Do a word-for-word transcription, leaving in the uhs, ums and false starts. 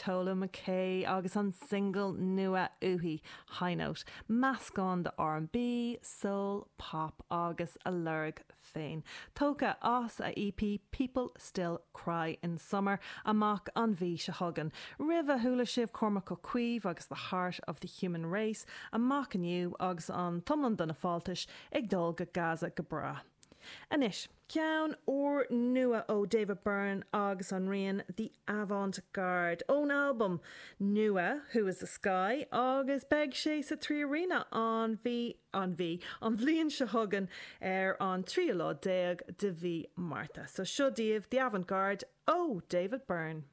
Tola McKay agus an single nua uaithi High Note, meascán de R and B, soul, pop agus a lorg féin. Tógtha as a E P People Still Cry in Summer, amach an mhí seo chugainn. Roimhe chuala sibh Cormac Ó Caoimh agus The Heart of the Human Race, amach inniu agus an t-iomlán de na fáltais ag dul go Gaza go breá. Anois, ceann úrnua ó David Byrne agus an rian The Avant Garde ón album nua Who is the Sky, agus beidh sé sa Trí Arena an mhí an mhí an bhliain seo chugainn ar an tríú lá déag de mhí Márta. So seo daoibh The Avant Garde ó David Byrne.